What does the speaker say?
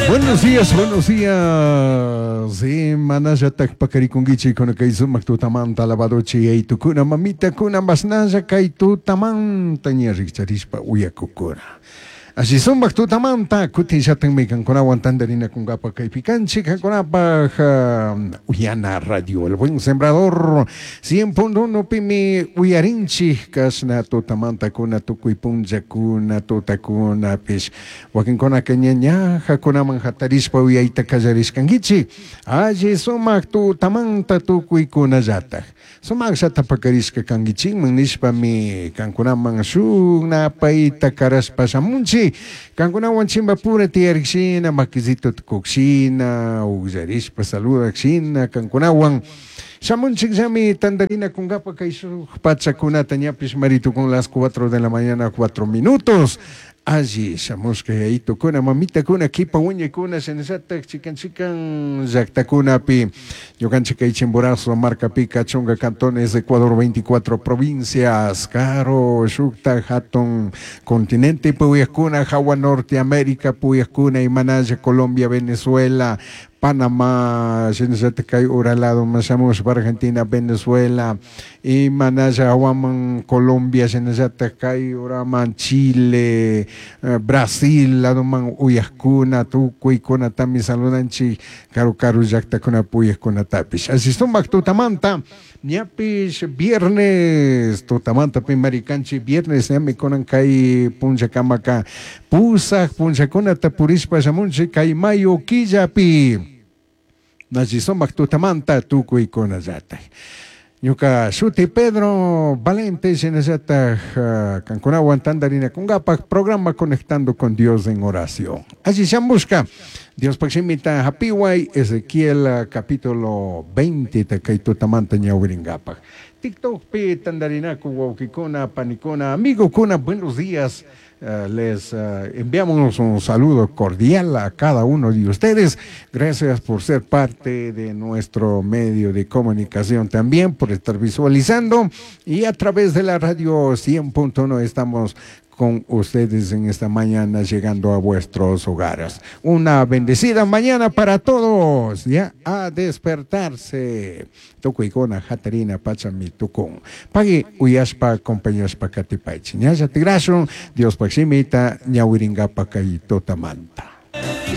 Buenos días, buenos días. Manallatak pakarikunkichik kay sumak tutamanta alabadochi yaytukuna mamitakuna mashnalla kay tutamanta ña rikcharishpa uyakukuna. Así sumak tutamanta kutin shatanmi kankunawan tantarinakunkapa kaypi kanchik kankunapaj Uyana Radio El Buen Sembrador 100.1 pimi uyarinchik kashna tutamanta kuna tukuy punllakuna tutakunapish wakinkunaka ña ñajakunaman hatarishpa uyayta kallarishkankichik alli sumak tutamanta tukuykunallatak sumakllata pakarishka kankichikman nishpami kankunaman shuk napayta karashpa shamunchik kankunawan chimbapura tiyarikshina makisito tukukshina ukllarishpa saludakshina kankunawan shamunchikllami tantarinakunkapa kay shuk pachakunata ñapish maritukun las 4 de la mañana 4 minutos. Alli shamushka yayitukuna mamitakuna kipa wiñaykuna shinallatak chikan chikan llaktakunapi ñukanchik kay Chimborazo markapika chunka cantones Ecuador 24 provincias karo shukta hatun continente puyakuna hawa Norte América puyakuna imanalla Colombia Venezuela Panamá, shinallatak kay ura lado shamushpa Argentina, Venezuela, imanalla hawaman Colombia, shinallatak kay uraman Chile, Brasil, ladoman uyajkuna, tukuykunatami saludanchik karu karu llaktakuna puyajkunatapish. Así sumak tutamanta, ñapish viernes, tutamanta pimarikanchik viernes, ñami kunan kay punllakamaka pusaj punllakunata purishpa shamunchik kay mayo killapi. Nachi sumak tutamanta tukuykunallatak. Ñuka shuti Pedro Valente shinallatak kankunawan tantarinakunkapak programa Conectando con Dios en Oración. Allí shamushka Diospaj shimita hapiway Ezequiel capítulo 20 kay tutamanta ñawirinkapak. TikTokpi tantarinaku wawkikuna, panikuna, amigokuna, buenos días. Les enviamos un saludo cordial a cada uno de ustedes. Gracias por ser parte de nuestro medio de comunicación también, por estar visualizando. Y a través de la radio 100.1 estamos con ustedes en esta mañana llegando a vuestros hogares. Una bendecida mañana para todos, ya a despertarse. Tukuykuna hatarina pachami tukun. Pagui uyashpa acompañashpa katipaychi. Ñalla tigrashun Diospaj shimita ñawiringapa kay tutamanta.